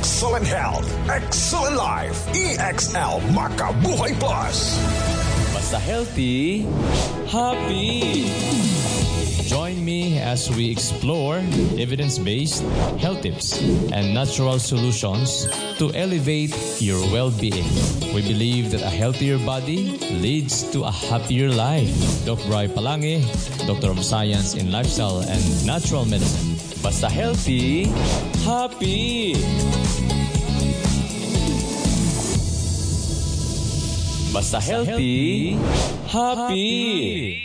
Excellent health, excellent life. EXL Makabuhay Plus. Basta healthy, happy. Join me as we explore evidence-based health tips and natural solutions to elevate your well-being. We believe that a healthier body leads to a happier life. Doc Bry Palangi, Doctor of Science in Lifestyle and Natural Medicine. Basta healthy, happy. Basta healthy, happy.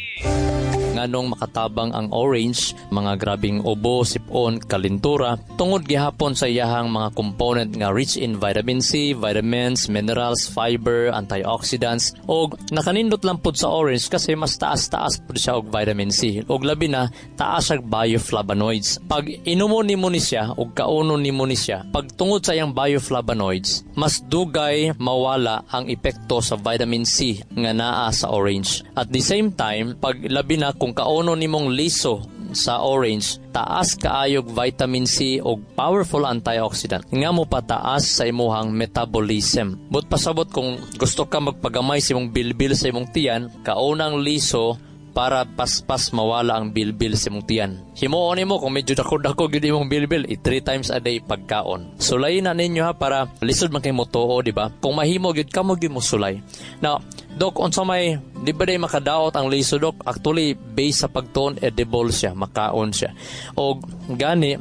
Nganong makatabang ang orange, mga grabing ubo, sipon, kalintura, tungod gihapon sa iyahang mga component nga rich in vitamin C, vitamins, minerals, fiber, antioxidants, og nakanindot lang pud sa orange kasi mas taas-taas pud siya og vitamin C. Og labi na, taas siya bioflavonoids. Pag inumo nimo ni siya og kaunon nimo ni siya, pag tungod sa iyang bioflavonoids, mas dugay mawala ang epekto sa vitamin C nga naa sa orange. At the same time, pag labi na kung kauno nimong liso sa orange, taas kaayog vitamin C og powerful antioxidant nga mo pataas sa imuhang metabolism. But pasabot kung gusto ka magpagamay sa imong bilbil sa imong tiyan, kaunang liso para paspas mawala ang bilbil sa imong tiyan. Himuon nimo kung medyo dako-dako gyud imong bilbil, i 3 times a day pagkaon. Sulay na ninyo ha para lisod man kay motuo, di ba? Kung mahimo gyud kamo gyud mo sulay. Now, Dok, unsa may di ba day makadaot ang liso, Dok? Actually, based sa pagtuon, edible siya, makaon siya. Og gani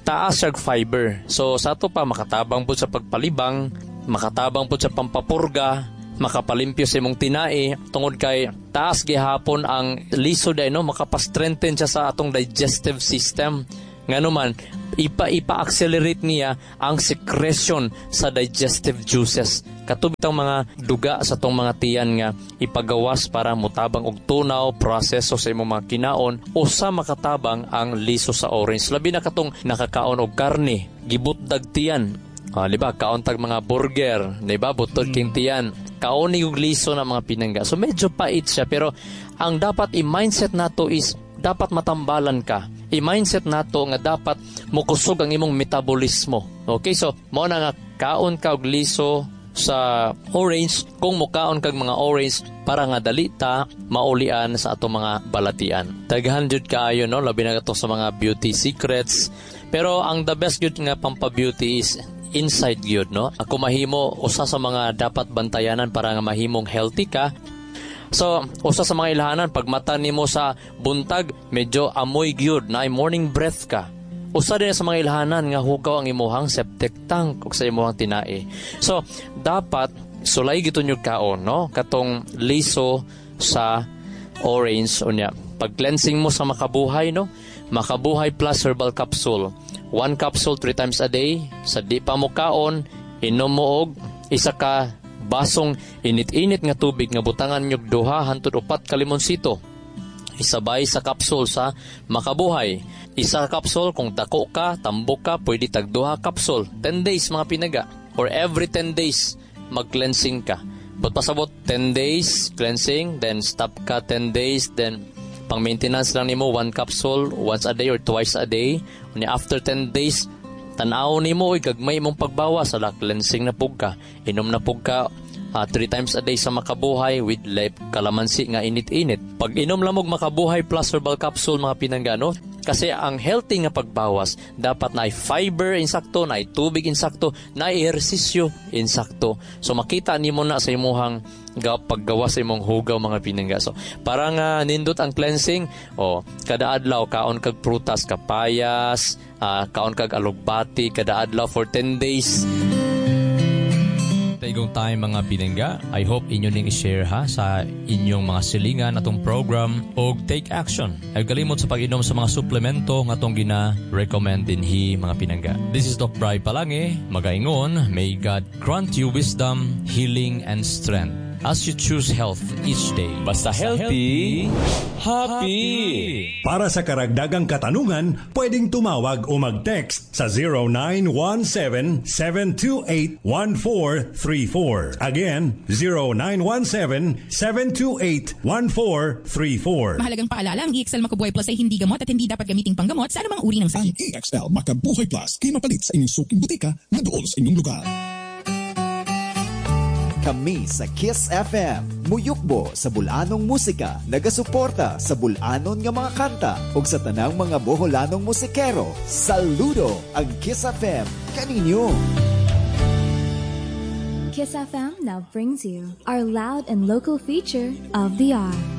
taas siya fiber. So sa ato pa makatabang pud sa pagpalibang, makatabang pud sa pampapurga, makapalimpyo sa imong tinai tungod kay taas gihapon ang liso day, no, makapastrengthen siya sa atong digestive system. Ngano man ipa-accelerate niya ang secretion sa digestive juices. Kato bitang mga duga sa tong mga tiyan nga ipagawas para motabang og tunaw, proseso sa imong mga kinaon, usa makatabang ang liso sa orange. Labi na katong nakakaon og karne, gibutdag tiyan. Di ba? Kaon tag mga burger, di ba? Butod king tiyan. Kaon ni og liso na mga pinangga. So medyo pait siya, pero ang dapat i-mindset nato is dapat matambalan ka. I-mindset nato nga dapat mokusog ang imong metabolismo. Okay, so mao na nga kaon ka og liso sa orange kung mukaon kag mga orange para nga dali ta maulian sa atong mga balatian. Daghan jud kaayo, no, labi na kato sa mga beauty secrets. Pero ang the best jud nga pampa-beauty is inside gyud, no. Ako mahimo usa sa mga dapat bantayanan para nga mahimong healthy ka. So, usa sa mga ilhanan, pag mata nimo sa buntag, medyo amoy gyud, na morning breath ka. Usa din sa mga ilhanan nga hugaw ang imuhang septic tank ug sa imuhang tinai. So, dapat sulay gito nyo kaon, no? Katong liso sa orange unya. Pag cleansing mo sa Makabuhay, no? Makabuhay Plus Herbal Capsule. 1 capsule 3 times a day. Sa di pa mo kaon, inom mo og isa ka basong init-init nga tubig nga butangan nyog 2 hangtod 4 ka limonsito. Isabay sa kapsul sa Makabuhay. Isa kapsul, kung dako ka, tambok ka, pwede tag 2 kapsul. 10 days mga pinaga. Or every 10 days, mag-cleansing ka. But pasabot, 10 days cleansing, then stop ka 10 days, then pang maintenance lang nimo 1 capsule once a day or twice a day. Unya after 10 days, tan-aw nimo oy gagmay imong pagbawas, ala cleansing na pug ka. Inom na pug ka 3 times a day sa Makabuhay with lep kalamansi nga init-init. Pag inom lamog Makabuhay Plus Herbal Capsule mga pinanggano, kasi ang healthy nga pagbawas dapat na fiber insakto, na tubig insakto, na ehersisyo insakto. So makita nimo na sa imuhang paggawas sa imong hugaw mga pinangga. So para nga nindot ang cleansing, o kada adlaw kaon kag prutas, kapayas, kaon kag alugbati kada adlaw for 10 days. Taigong time mga pinangga. I hope inyo ning i-share ha sa inyong mga silingan atong program og take action. Ay kalimot sa pag-inom sa mga suplemento nga atong gina-recommend dinhi mga pinangga. This is Doc Bry Palangi, magaingon, may God grant you wisdom, healing and strength. As you choose health each day. Basta healthy, happy! Para sa karagdagang katanungan, pwedeng tumawag o mag-text sa 0917-728-1434. Again, 0917-728-1434. Mahalagang paalala, ang EXL Makabuhay Plus ay hindi gamot at hindi dapat gamiting panggamot sa anumang uri ng Ang sakit. EXL Makabuhay Plus kay mapalit sa inyong suking butika nga duol sa inyong lugar. Kami sa Kiss FM, muyukbo sa bulanong musika, nagasuporta sa bulanon nga mga kanta ug sa tanang mga Boholanong musikero. Saludo ang Kiss FM kaninyo. Kiss FM now brings you our loud and local feature of the hour.